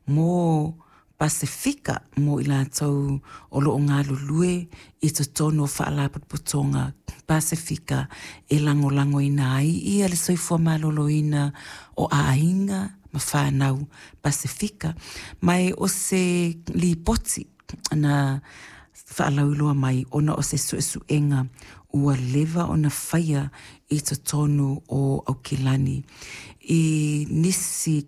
mo Pasefika mo i latou o lo o galulue i totonu o Faalapotopotoga Pasefika e lagolagoina ai ia le soifua maloloina o aiga ma fanau Pasefika. Ma e o se lipoti na faalauiloa mai ona o se suesuega ua leva ona faia i totonu o Aukilani i nisi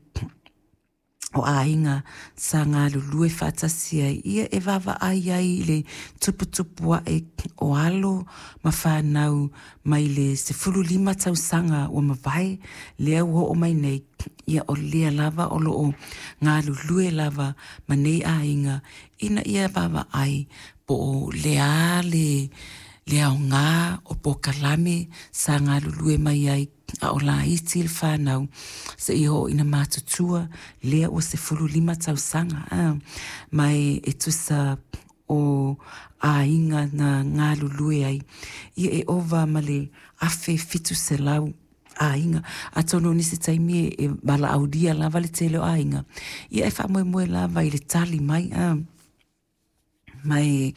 o aiga sa galulue faatasi ai ia e vaavaai ai i le tuputupu ae o alo ma fanau mai le 15 tausaga ua mavae lea ua oo mai nei, ia o lea lava o lo o galulue lava ma nei aiga ina ia vaavaai po o le a le aoga o polokalame sa galulue mai ai a o laiti le fanau seia oo ina matutua lea ua 15 tausaga ma e tusa o aiga na galulue ai ia e ova ma le 1700 aiga. Atonu o nisi taimi e valaaulia lava le tele o aiga, ia e faamoemoe lava i le tali mai, ma e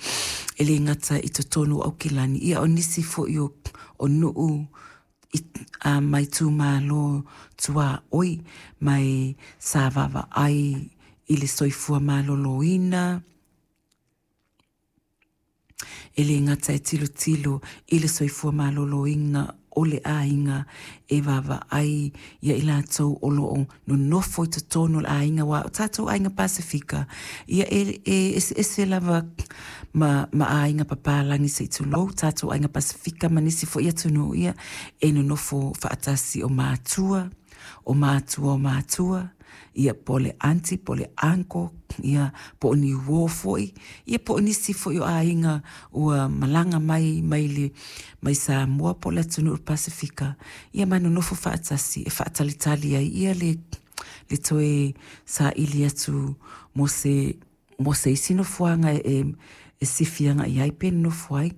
le gata i totonu o Aukilani, ia o nisi foi o nuu ma itumalo tuaoi, ma e sa vaavaai i le soifua maloloina, e le gata e tilotilo i le soifua maloloina o le aiga e vaavaai ia i latou o lo o nonofo i totonu o le aiga, aua o tatou aiga Pasefika, ia e eseese lava ma aiga papalagi se i tulou, tatou aiga Pasefika ma nisi foi atunuu, ia e nonofo faatasi o matua, o matua o matua, ia po o le aunty po o le uncle, ia po o ni uō foi, ia po o nisi foi o aiga ua malaga mai mai Samoa po o le atunuu o le Pasefika, ia ma nonofo faatasi e faatalitali ai ia le toe saili atu mo se isi nofoaga e sifi agai ai pe nonofo ai.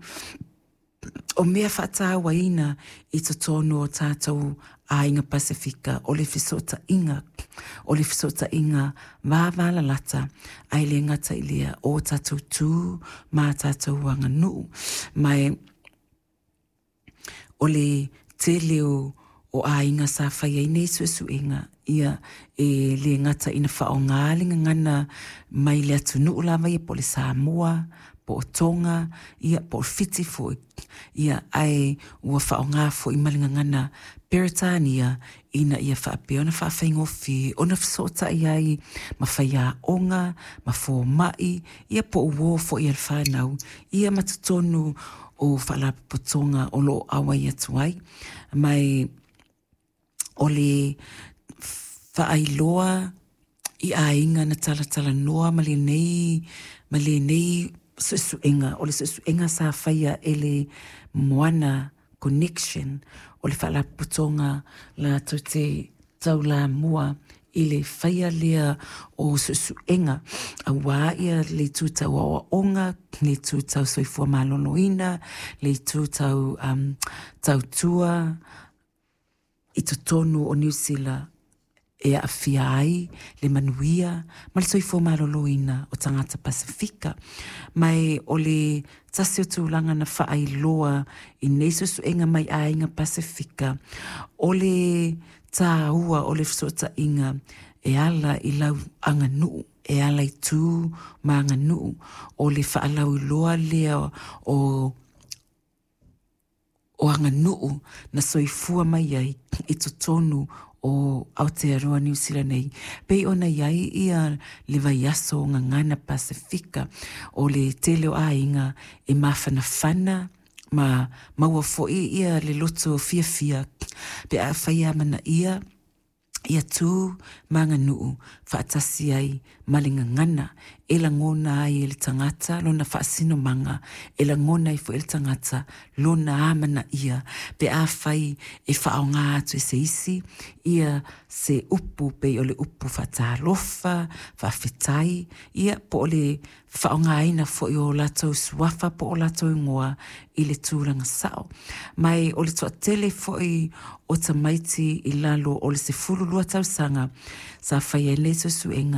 O mea faatauaina i totonu o tatou aiga Pasefika o le fesootaiga, o le fesootaiga vavalalata, ae le gata i lea o tatou tu ma tatou aganuu. Ma e o le tele o aiga sa fai ai nei suesuega, ia e le gata ina faaaoga le gagana mai le atunuu lava ia po o le Samoa, po o Tonga, ia po o Fiti foi, ia ae ua faaaoga foi ma le gagana Peretania ina ia faapea ona faafaigofie ona fesootai ai ma faiaoga, ma fomai, ia po o uo foi a le fanau, ia ma totonu o faalapotopotoga o lo o auai atu ai. Ma e o le faailoa i aiga na talatalanoa ma lenei suesuega, o le suesuega sa faia e le Moana Connection, o le faalapotopotoga latou te taulamua i le faia lea o suesuega aua ia le itu tau aoaoga, le itu tau soifua maloloina, le itu tau tautua i totonu o Niu Sila e aafia ai le manuia ma le soifua maloloina o tagata Pasefika. Ma e o le tasi o tulaga na faailoa i nei suesuega mai aiga Pasefika, o le tāua o le fesootaiga e ala i lau aganuu, e ala i tu ma aganuu, o le faalauiloa lea o aganuu na soifua mai ai i totonu o Aotearoa Niu Sila nei. Pei ona i ai ia le vaiaso o Gagana Pasefika, o le tele o aiga e mafanafana ma maua foi ia le loto fiafia pe afai e amanaia ia tu ma aganuu faatasi ai ma le gagana e lagona ai e le tagata lona faasinomaga, e lagona ai foi e le tagata lona amanaia pe afai e faaaoga atu e se isi ia se upu pei o le upu faatalofa, faafetai, ia po o le faaaogaina foi o latou suafa po o latou igoa i le tulaga sao. Ma e o le toatele foi o tamaiti i lalo o le 12 tausaga sa fai ai nei suesuega.